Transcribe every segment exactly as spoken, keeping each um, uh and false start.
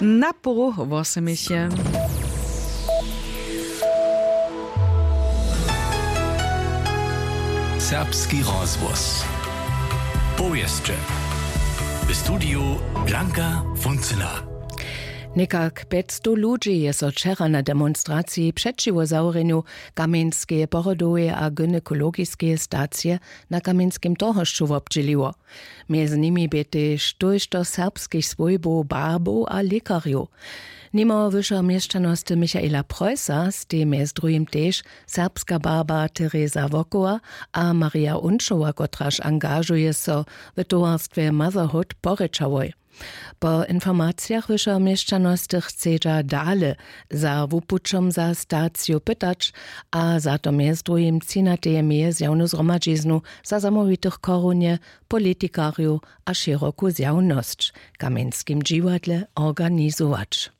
Na poru wosemeše. Serbski rozhłos. Powěsće. W studiju Blanka Funcyna. Někak pjećstow ludźi je so wčera na demonstraciji přećiwo zawrjenju kamjenskeje porodoweje a gynekologiskeje stacije na kamjenskim torhošću wobdźěliło. Mjez nimi bě tež tójšto serbskich swójbow, barbow a lěkarjow. Nimo wyšeho měšćanosty Michaela Preussa stej mjez druhim tež serbska barba Teresa Wokowa a Maria Unčowa, kotraž angažuje so w towarstwje Motherhood porěčałoj. Po informacijach wyšeho měšćanosty chcedźa dale za wupućom za staciju pytać a za to mjez druhim třinateje meje zjawnu zhromadźiznu za zamołwitych chorunje, politikarjow a šěroku zjawnosć w kamjenskim dźiwadle organizować.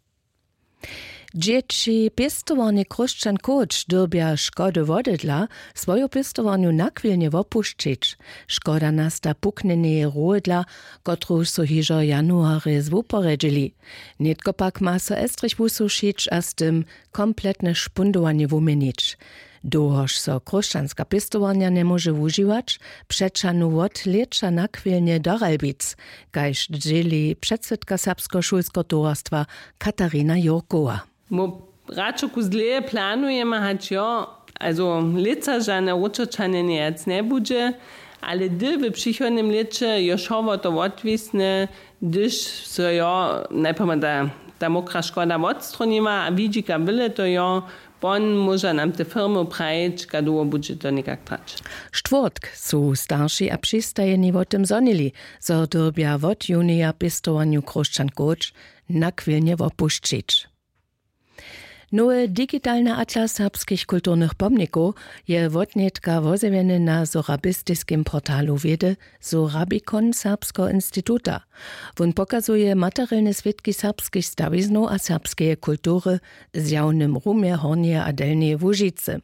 Dźěći pěstowarnje Chróšćan Kołč dyrbja škody wodydla swoju pěstowarnju nachwilnje wopušćić. Škoda nasta puknjeneje rohydla, kotruž su hižo w januarje zwuporjedźili. Nětko pak ma so estrich wusušić a z tym kompletne špundowanje wuměnić. Dołhož so chróšćanska pěstowarnja njemóže wužiwać, přećahnu wot lěća nachwilnje do Ralbic, kaž dźěli předsydka Serbskeho šulskeho towarstwa Katarina Jurkowa. Mu radšo kus dlěje planujemy, hač jo, also lětsa žane wróćoćanje njejac njebudźe, ale hdy w přichodnym lěće jo wšo wo to wotwisne, hdyž so jo najprjema ta, ta mokra škoda wotstronima a widźika byle to jo, pon móža nam te firmy prajić, kaž dołho budźe to někak trać. Štwórtk su starši a přistajeni wo tym zhonili, zo dyrbja wot junija pěstowarnju Chróšćan Kołč nachwilnje wopušćić. Nowy digitalny atlas serbskich kulturnych pomnikow je wotnětka wozjewjeny na sorabistiskim portalu wědy Sorabikon Serbskeho instituta. Wón pokazuje materielne swědki serbskich stawiznow a serbskeje kultury w zjawnym rumje Hornjeje a Delnjeje Łužicy.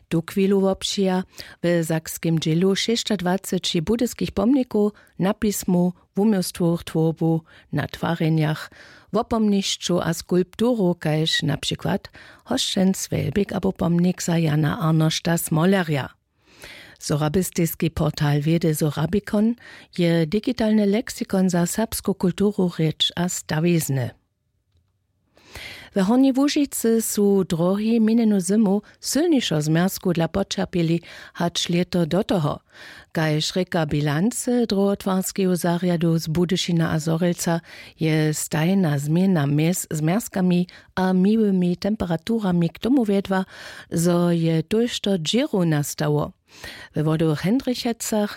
Tuchwilu wobpřija w sakskim dźělu šěsćadwaceći budyskich pomnikow, na pismu, wuměłstwowych twórbow, na twarjenjach, wopomnišću a skulpturow, kaž na přikład hosćenc Wjelbik abo pomnik za Jana Arnošta Smolerja. Sorabistiski portal wědy Sorabikon je digitalny leksikon za serbsku kulturu, rěč a stawizny. W Hornjej Łužicy su drohi minjenu zymu sylnišeho zmjerzku dla poćerpjeli hač lěto do toho. Kaž rěka bilancy, druhotwarskeju zarjadu z Budyšina a Zhorjelca je stajna změna mjez zmjerzkami a miłymi temperaturami k tomu wjedła, zo je tójšto dźěrow nastało. We Wodowych Hendrichecach